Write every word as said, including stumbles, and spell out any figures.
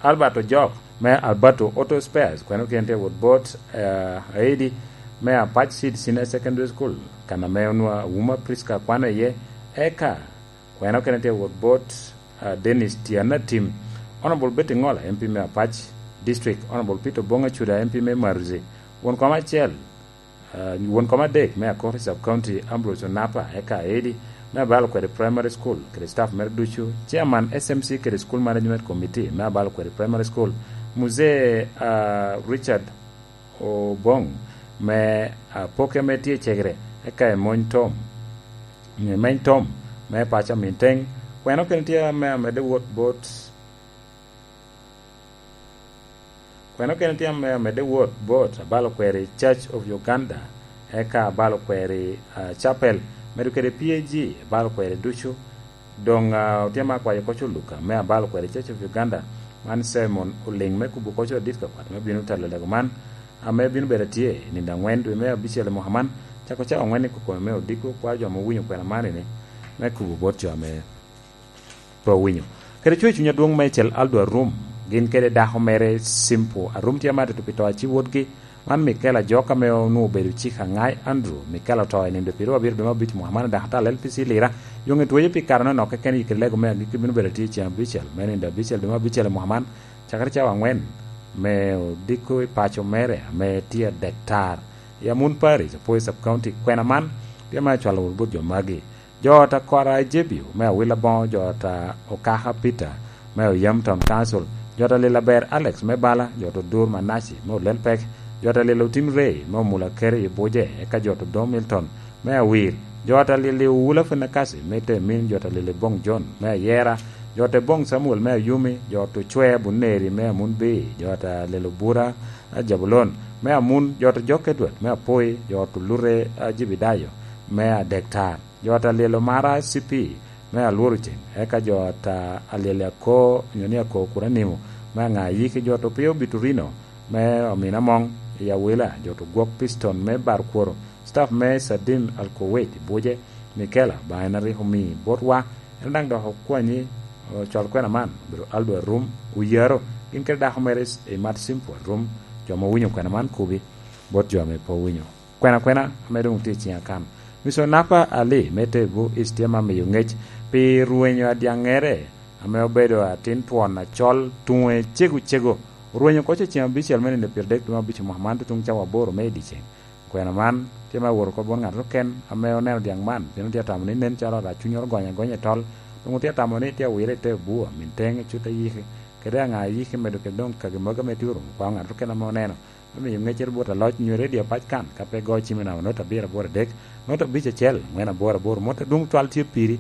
Albert Ojok me Alberto Auto Spares, kwene kene tye wot bot, eh, Aidi me Apac Seed Senior Secondary School, kan ame onwa Wuma Prisca kwano iye, eka kwene kene tye wot bot, eh, Dennis Tiana Tim, Honorable Betty Ngola, M P me Apac District, Honorable Peter Bonga Chuda, M P me Maruzi, won kom acel, ah, won kom adek me Akoti Sub County, Ambrose Onapa, eka Aidi me Abalo Kweri Primary School kede staff mere ducu, Chairman S M C kede School Management Committee me Abalo Kweri Primary School, Muzee, ah, Richard Obong me, ah, Apoke ame tye i Cegere, eka Emony Tom, Emeny Tom me paco Minteng, kwene kene tye ame amedde wot bot Kwene kene tye ame amedde wot bot Abalo Kweri Church of Uganda, eka Abalo Kweri, ah, Chapel, medo kede P A G, Abalo Kweri ducu. Doŋ, ah, otye ame akwayo koc Oluka me Abalo Kweri Church of Uganda, man Simon Oliŋ me kubo koc adit ka kwat me bino telo lego man, ame bino bedo atye i nino aŋwen dwe me abicel i mwaka man, cako cawa aŋwen i kokome me odiko, kwaro jo ame owinyo kwena man-ni me kubo bot jo ame pe owinyo. Kede cwer cuny adwoŋ meicel Aldo Arum, gin kede dako mere Simple Arum tye ame atito pi to aci wotgi, man Mikel Ajok ame onwoŋo obedo cik aŋai Andrew. Mikel oto i nino dwe pyeraryo abiro dwe me abic mwaka man i dako atal L P C Lira. Yoŋe tweyo pi kare anonok keken i kede lego me agikki bino bedo atye i ceng abicel me nino dwe abicel dwe me abicel i mwaka man, cakere cawa aŋwen me odiko i paco mere ame tye adektar i Amun Parish, Apwoyo Sub County. Kwena man tye ame acwalo wot bot jo magi. Jo ot a Kora Ejebio me Awila Boŋo, jo ot a Okaka Peter me Oyam Town Council, jo ot a Lila Ber Alex me Bala, jo ot Odur Manaci me Olelpek, jo ot a Lila Otim Rey me Omula Kere i Buje, eka jo ot Odom Milton me Awir, jo ot a Lila Owula Finakasi me Temin, jo ot a Lila Boŋ John me Ayera, jo ot Boŋ Samuel me Ayumi, jo ot Ocwe Abuneri me Amunbi, jo ot a Lila Obura Jabulon me Amun, jo ot Jok Edward me Apoi, jo ot Olute Ajibidayo me Adektar. Jo ot a Lyel Omara C P me Alworo Ceng, eka jo ot a Lyel Ako, onyo ni Ako Kuranimo me Aŋa Ayiki, jo ot Opio Biturino me Omina Moŋ i Awila, jo ot Ogwok Piston me Barkworo, staff me Sadim Alkowet i Buje, Mikela, ba en a rik omi botwa, en daŋ dok okwanyi, ocwal kwena man, obedo Aldo Arum, Oyaro, gin kede dako mere i Mat Simple Arum, jo ma owinyo kwena man kubi, bot jo ame pe owinyo. Kwena kwena ame doŋ tye i ciŋa kan. Mister Napa Ali me Tebu East tye ma miyo ŋec pi rwenyo adyaŋŋere ame obedo atin twon acol, tuŋe cego cego. Orwenyo koc i ceng abicel me nino pyeradek dwe me abic mwaka man, tutuŋ cawa aboro me i dyeceŋ. Kwena man tye ma awot oko bot ŋat keken ame oneno dyaŋ man, pien otye atamo ni nen calo arac cunye ogonyo agonya i tol, doŋ otye atamo ni tye awire i te bur, min teŋe cut ayiki, kede aŋa ayiki medo kede doŋ kagi magi ame tye orumo kwao ŋat keken ame oneno. Me miyo ŋeccere bot aloc nyo redio pac kan, ka pe go cim i namba nota abiro aboro adek, nota abic acel, angwen aboro aboro, mot adwoŋ cwal tye piri,